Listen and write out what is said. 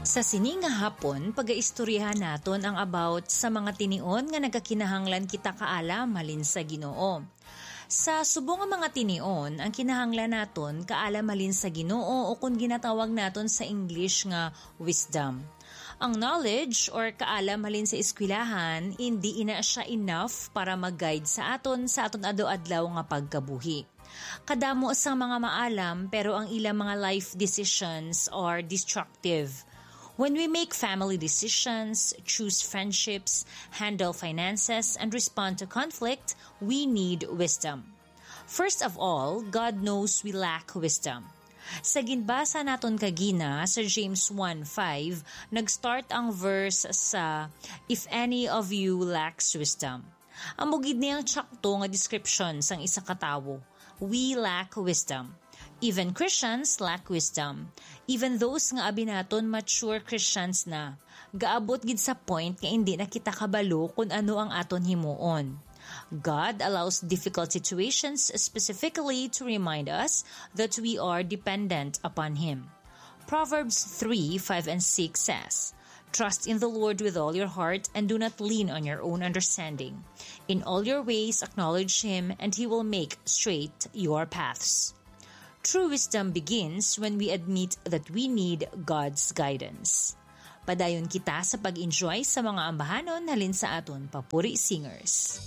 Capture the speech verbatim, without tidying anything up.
Sa sini nga hapon, pagaistoryahan naton ang about sa mga tinion nga nagakinahanglan kita kaalam halin sa Ginoo. Sa subong nga mga tinion, ang kinahanglan naton kaalam halin sa Ginoo, o kung ginatawag naton sa English nga wisdom. Ang knowledge or kaalam halin sa eskwelahan, hindi ina siya enough para mag-guide sa aton sa aton adlaw-adlaw nga pagkabuhi. Kadamo sang mga maalam, pero ang ilang mga life decisions are destructive. When we make family decisions, choose friendships, handle finances, and respond to conflict, we need wisdom. First of all, God knows we lack wisdom. Sa ginbasa naton kagina sa James one five, nag-start ang verse sa, "If any of you lacks wisdom." Amo gid ni ang tsakto nga description sang isa ka tawo. We lack wisdom. Even Christians lack wisdom. Even those nga abi naton mature Christians na, gaabot gid sa point nga hindi na kita kabalo kung ano ang aton himuon. God allows difficult situations specifically to remind us that we are dependent upon Him. Proverbs three, five, and six says, "Trust in the Lord with all your heart and do not lean on your own understanding. In all your ways acknowledge Him and He will make straight your paths." True wisdom begins when we admit that we need God's guidance. Padayon kita sa pag-enjoy sa mga ambahanon halin sa aton papuri singers.